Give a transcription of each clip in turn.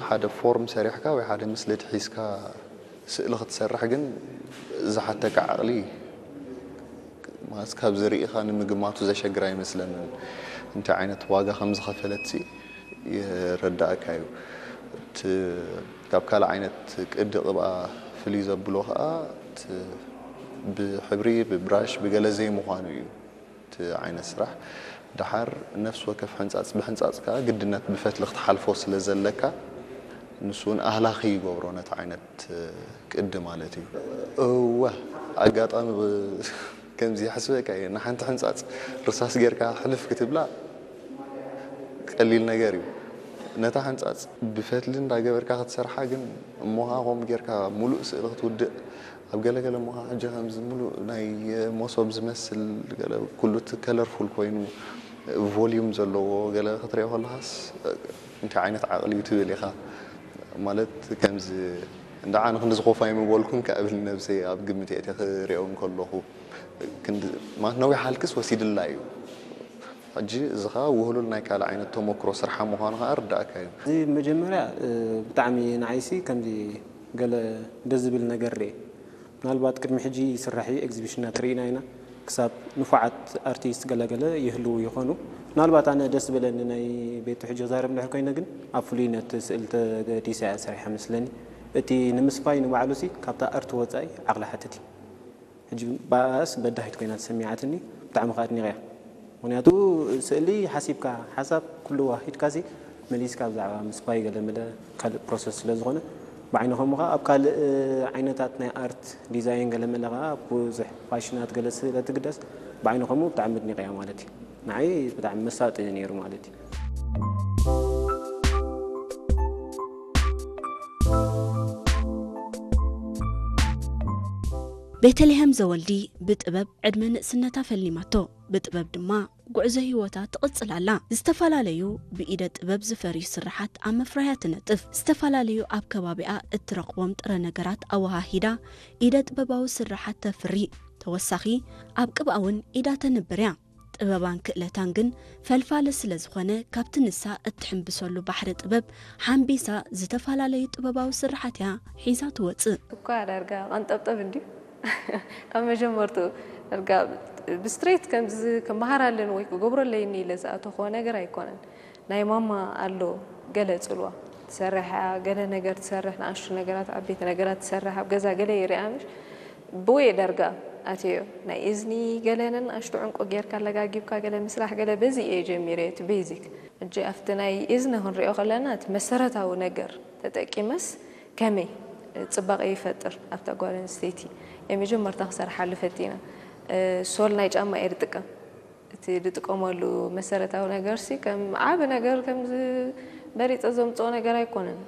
ሓደ ፎርም ሰሪሕካ ወይ ሓደ ምስልድ ሒዝካ ስእሊ ክትሰርሕ ግን ዝሓተካ ዓቕሊ ማለት ካብዚ ርኢኻ ንምግማቱ ዘሸግር ኣይመስለንን። እንታይ ዓይነት ዋጋ ከም ዝኸፈለት ሲ ይረዳእካ እዩ። እቲ ካብ ካልእ ዓይነት ቅዲ ቅብኣ ፍልይ ዘብሎ ከዓ እቲ ብሕብሪ ብብራሽ ብገለ ዘይምዃኑ እዩ። እቲ ዓይነት ስራሕ ደሓር ነፍሲ ወከፍ ሕንፃፅ ብሕንፃፅ ከዓ ግድነት ብፈትሊ ክትሓልፎ ስለ ዘለካ ንሱ እውን ኣህላኺ ይገብሮ ነቲ ዓይነት ቅዲ ማለት እዩ። እወ ኣጋጣሚ ከምዚ ይሕስበካ እየ ንሓንቲ ሕንፃፅ ርሳስ ጌርካ ሕልፍ ክትብላ ቀሊል ነገር እዩ። ነታ ሕንፃፅ ብፈትሊ እንዳገበርካ ክትሰርሓ ግን እሞኻ ከምኡ ጌርካ ሙሉእ ስእሊ ክትውድእ ኣብ ገለገለ እሞኻ ሕጂ ከምዚ ሙሉእ ናይ መሶብ ዝመስል ገለ ኩሉ እቲ ከለርፉል ኮይኑ ቮሊዩም ዘለዎ ገለ ክትሪኦ ከለኻስ እንታይ ዓይነት ዓቕሊ እዩ ትብል ኢኻ ማለት ከምዚ እንዳ ኣነ ክንዲ ዝኾፋ ይምበልኩን ከብል ነብሰይ ኣብ ግምት እየ ክሪኦ እንከለኹ ማለት ነዊሕ ሃልክስ ወሲድላ እዩ። ሕጂ እዚ ኸዓ ውህሉል ናይ ካልእ ዓይነት ተመክሮ ስርሓ ምዃኑ ኸዓ ርዳእካ እዩ። እዚ መጀመርያ ብጣዕሚ ንዓይሲ ከምዚ ገለ ደስ ዝብል ነገር ርኤ ምናልባት ቅድሚ ሕጂ ይስራሕ እዩ ኤግዚቢሽናት ርኢና ኢና ክሳብ ንፉዓት ኣርቲስት ገለገለ ይህልዉ ይኾኑ ምናልባት ኣነ ደስ ዝበለኒ ናይ ቤቱ ሕጂ ክዛረብ እንድሕር ኮይነ ግን ኣብ ፍሉይ ነቲ ስእል ተገዲሰ እያ ሰሪሓ መስለኒ እቲ ንምስፋይ ንባዕሉሲ ካብታ ኣርት ወፃኢ ዓቕሊ ሓትት እዩ ሕጂ ብኣስ በዳሂት ኮይና ተሰሚዓትኒ ብጣዕሚ ከዓ ኣድኒቐያ ምክንያቱ ስእሊ ሓሲብካ ሓሳብ ኩሉ ዋሂድካሲ መሊስካ ብዛዕባ ምስፋይ ገለ መለ ካልእ ፕሮሰስ ስለ ዝኾነ ብዓይኒ ከምኡ ከዓ ኣብ ካልእ ዓይነታት ናይ ኣርት ዲዛይን ገለ መለ ከዓ ብዙሕ ፋሽናት ገለ ስለ ትግደስ ብዓይኒ ከምኡ ብጣዕሚ ኣድኒቐያ ማለት እዩ ንዓይ ብጣዕሚ መሳጢ ነይሩ ማለት እዩ ቤተልሔም ዘወልዲ ብጥበብ ዕድመ ንእስነታ ፈሊማቶ፣ ብጥበብ ድማ ጉዕዞ ህይወታ ትቕጽል ኣላ። ዝተፈላለዩ ብኢደ ጥበብ ዝፈርዩ ስርሓት ኣብ ምፍራያ ትነጥፍ። ዝተፈላለዩ ኣብ ከባቢኣ እትረኽቦም ጥረ ነገራት ኣወሃሂዳ ኢደ ጥበባዊ ስርሓት ተፍሪ። ተወሳኺ ኣብ ቅብኣ እውን ኢዳ ተንብር እያ። ጥበባን ክእለታን ግን ፈልፋሊ ስለ ዝኾነ ካብቲ ንሳ እትሕምብሰሉ ባሕሪ ጥበብ ሓምቢሳ ዝተፈላለዩ ጥበባዊ ስርሓት እያ ሒዛ ትወጽእ። እኳ ዳርጋ ቀንጠብጠብ እንድዩ ካብ መጀመርትኡ ዳርጋ ብስትሬት ከምዚ ክመሃር ኣለኒ ወይ ክገብሮ ኣለይኒ ኢለ ዝኣተኹዎ ነገር ኣይኮነን። ናይ ማማ ኣሎ ገለ ጽልዋ ትሰርሕ እያ፣ ገለ ነገር ትሰርሕ፣ ንኣሽቱ ነገራት ዓበይቲ ነገራት ትሰርሕ፣ ኣብ ገዛ ገለ ይርኣ ምሽ ብወየ ዳርጋ ኣትዮ ናይ እዝኒ ገለ ነንኣሽቱ ዕንቁ ጌርካ ኣለጋጊብካ ገለ ምስራሕ ገለ በዚ እየ ጀሚረ እቲ ቤዚክ። ሕጂ ኣብቲ ናይ እዝኒ ክንሪኦ ከለና እቲ መሰረታዊ ነገር ተጠቂመስ ከመይ ጽባቐ ይፈጥር ኣብታ ጓል ኣንስተይቲ እየ መጀመርታ ክሰርሓሉ ፈቲነ። ሶል ናይ ጫማ እየ ዝጥቀም። እቲ ዝጥቀመሉ መሰረታዊ ነገርሲ ከም ዓቢ ነገር ከም መሪጸ ዘምጽኦ ነገር ኣይኮነን።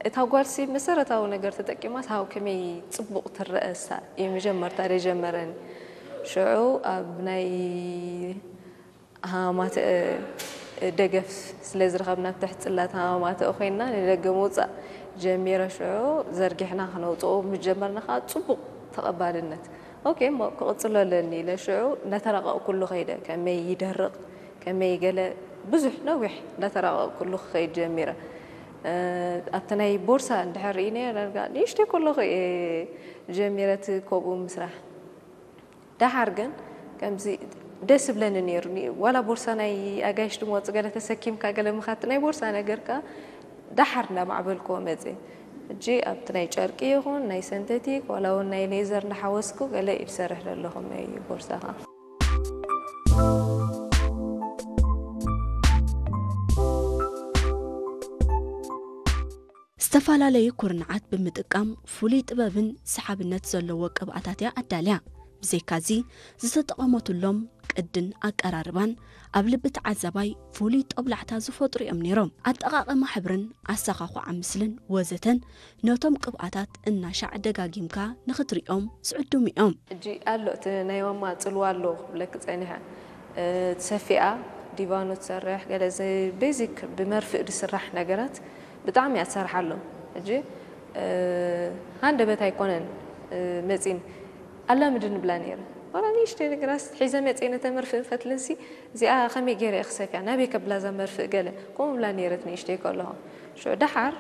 እታ ጓልሲ መሰረታዊ ነገር ተጠቂማስ ሃው ከመይ ጽቡቕ ትረኣሳ እዩ መጀመርታ ደጀመረኒ። ሽዑ ኣብ ናይ ሃማማትእ ደገፍ ስለ ዝረኸብና ኣብ ትሕቲ ጽላት ሃማማትእ ኮይንና ንደገ ምውጻእ ጀሚረ ሽዑ ዘርጊሕና ክነውጽኦ ምስ ጀመርና ከኣ ጽቡቕ ተቐባልነት ኦኬ እሞ ክቕጽሎ ኣለኒ ኢለ ሽዑ እንዳተራቐቕኩሉ ከይደ ከመይ ይደርቕ ከመይ ገለ ብዙሕ ነዊሕ እንዳተራቐቕኩሉ ክኸይድ ጀሚረ ኣብቲ ናይ ቦርሳ እንድሕር ርኢነ ዳርጋ ንእሽተይ ከለኹ እየ ጀሚረ እቲ ከምኡ ምስራሕ ደሓር ግን ከምዚ ደስ ይብለኒ ነይሩ ዋላ ቦርሳ ናይ ኣጋይሽ ድመወፅ ገለ ተሰኪምካ ገለ ምኻት ናይ ቦርሳ ነገር ከኣ ደሓር እንዳማዕበልክዎ መፅየ ሕጂ ኣብቲ ናይ ጨርቂ ይኹን ናይ ሰንተቲክ ዋላ እውን ናይ ሌዘር እንዳሓወስኩ ገለ እዩ ዝሰርሕ ዘለኹ ናይ ቦርሳ ከኣ ዝተፈላለዩ ኩርንዓት ብምጥቃም ፍሉይ ጥበብን ሰሓብነት ዘለዎ ቅብኣታት እያ ኣዳልያ። ብዘይካዚ ዝተጠቐመትሎም ቅድን ኣቀራርባን ኣብ ልቢ ተዓዛባይ ፍሉይ ጦብላዕታ ዝፈጥሩ እዮም ነይሮም። ኣጠቓቕማ ሕብርን ኣሰኻኹዓ ምስልን ወዘተን ነቶም ቅብኣታት እናሻዕ ደጋጊምካ ንኽትሪኦም ዝዕድሙ እዮም። ሕጂ ኣሎ እቲ ናይ ማማ ጽልዋ ኣሎ ክብለኪ ጸኒሐ ትሰፊኣ ዲቫኖ ትሰርሕ ገለ እዚ ቤዚክ ብመርፍእ ዝስራሕ ነገራት ብጣዕሚ እያ ትሰርሓሎም። ሕጂ ሃንደበት ኣይኮነን መፂን ኣላምድኒ ብላ ነይረ። ዋላ ንእሽተይ ነገራት ሒዘ መፂአ ነተ መርፍእን ፈትልን ሲ እዚኣ ከመይ ገይረ እየ ክሰፍያ ናበይ ከብላ እዛ መርፍእ ገለ ከምኡ ብላ ነይረት ንእሽተይ ከለኹ። ሽዑ ደሓር